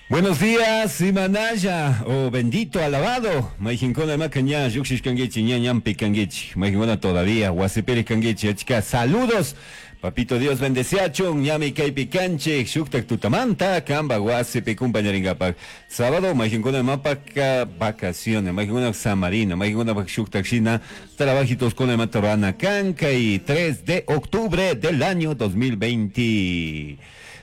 Buenos días, Imanaya, oh bendito, alabado. Mayqinkuna maka ña lluqshishkankichik, ña ñanpi kankichik. Mayqinkuna todavía wasipiri kankichik. Achka saludos. Papito Dios bendeciachun, ñami kaypi kanchik, shuktak tutamanta, kamba wasipi kumpañarinkapak. Sábado, mayqinkuna mapaka vacaciones, mayqinkuna samarina, mayqinkuna shuktak shina, trabajitos con imata rurana kan, kay 3 de octubre del año 2020.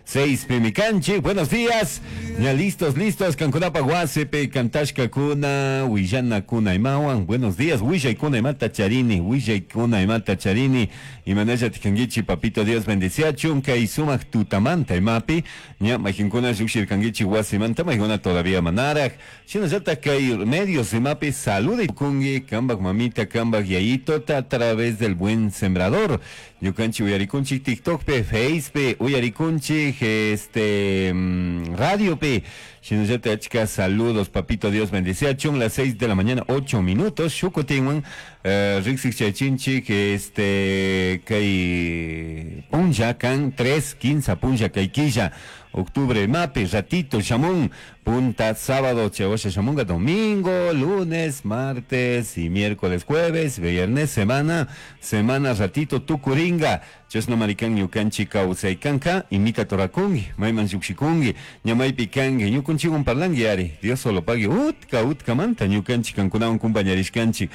6 pimikanchik, buenos días. Ya listos, listos, kankunapa wasipi kantashkakuna, willanakuna imawan. Buenos días, willaykuna imata charini, willaykuna imata charini. Imanalla tikankichi, papito Dios bendeciachun, kay sumak tutamanta imapi. Ña mayqinkuna lluqshirkankichik wasimanta, mayqinkuna todavía manaraq. Shinallata kay medios imapi salude kungi, kambak mamita, kambak yayitota a través del buen sembrador. Ñukanchik uyarikunchik TikTok pe, Face pe, uyarikunchik radio pe. Shinallata achka saludos, papito Dios bendeciachun, las 6 de la mañana, 8 minutos. Shukutinwan, riksik chaychinchik, kay punlla kan 3, 15 punlla kay killa. Octubre, mapi, ratito, shamun, punta, sábado, chawasha, shamunga, domingo, lunes, martes y miércoles, jueves, viernes, semana, semana, ratito, tukuringa, chasna marikan ñukanchik kawsaykanka, imita torakungi, mayman llukshikungi, ñamaypi kangi, ñukunchikwan parlangi ari, Dios solo pague, utka, utkamanta, ñukanchik kankunawan kumpañarishkanchik.